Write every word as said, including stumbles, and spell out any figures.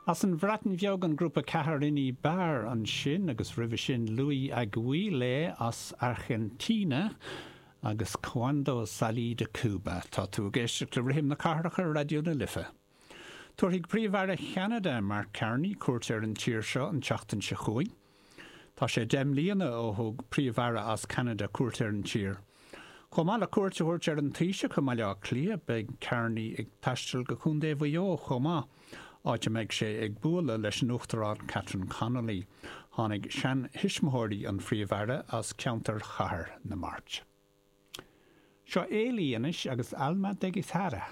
As an Bhreatain Bheag an grúpa Ceathairíní Beár ansin agus roimhe sin Luis Aguilé as Airgintín agus Cuando Salí de Cuba. Tá tú ag éisteacht le Rithim na Cathrach ar Raidió na Life. Tabharfaidh Príomh-Aire Cheanada Mark Carney cuairt ar an tír seo an tseachtain seo chugainn. Tá sé deich mbliana ó thug Príomh-Aire as Ceanada cuairt ar an tír. Chomh maith le cuairt a thabhairt ar an Taoiseach i mBaile Átha Cliath beidh Carney ag taisteal go Contae Mhaigh Eo chomh maith, áit a mbeidh sé ag bualadh leis an Uachtarán Catherine Connolly. Tháinig seantuismitheoirí an Phríomh-Aire as ceantar Chathair na Mart. Seo Éilí anois agus Alma de Guitarra.